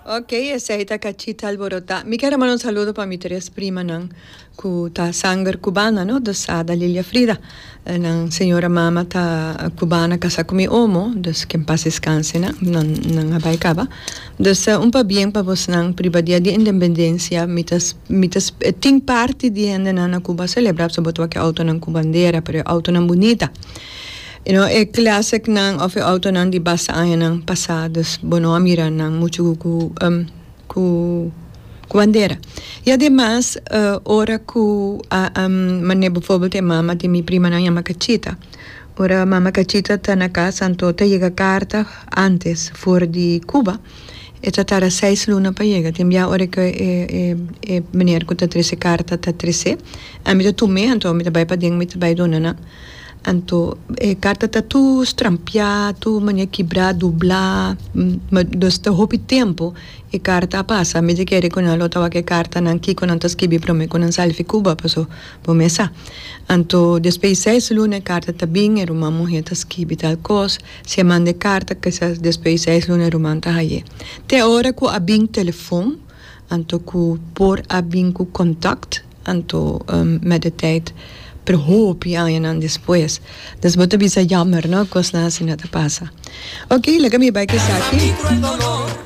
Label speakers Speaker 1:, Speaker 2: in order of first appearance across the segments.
Speaker 1: Ok, esei ta Cachita Alborotá. Mi kier a manda un saludo pa mi tres primanan cu ta sanger cubana, no? Dus Ada, Lilia, Frida. Nan señora mama ta cubana casa cu mi omo, dus ke en paz descanse nan, nan nan a bay caba. Dus un pabien pa bosnan priba dia di independencia. Mi ta mi ta tin parti di hendenan na Cuba a celebra pasobra bo ta wak e autonan cu bandera, pero e autonan bunita. You know, e classicnan of e autonan di basta añanan pasá, dus bo no a mira nan muchu ku ku ku bandera. I ademas ora ku a manera bijvoorbeeld e mama di mi primanan yama Cachita, ora mama Cachita ta na kas anto ta yega karta antes for di Cuba, e ta tarda seis luna pa yega. Tin bia ora ku e e meneer ku ta trese karta ta tres'é, ami ta tum'é anto mi ta bai paden mi ta bai duna nan. Anto e karta ta tur strampiá, tur manera kibrá, dublá, dus ta hopi tempu e karta a pasa. Mi ta kere ku nan lo ta wak e kartanan kiko nan ta skibi promé ku nan sali fi Cuba, paso bo mes sa. Anto despues di seis luna e karta ta bin, e ruman muhé ta skibi tal kos, si e manda e karta kisas despues di seis luna e ruman ta haye. Te ora ku a bin telefon, anto ku por a bin ku kontakt. Anto met de tijd, pero hopi añanan despues. Dus bo ta bisa jammer no, cosnan asina ta pasa. Ok, laga mi bai cu esaki.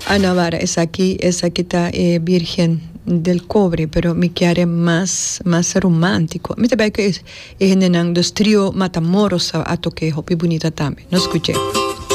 Speaker 1: Ah no, wara, esaki, esaki ta e Virgen del Cobre, pero mi kier e mas, mas romantico. Mi ta bai cu e hendenan, dus Trio Matamoros a toke hopi bunita tambe. Nos scuch'e.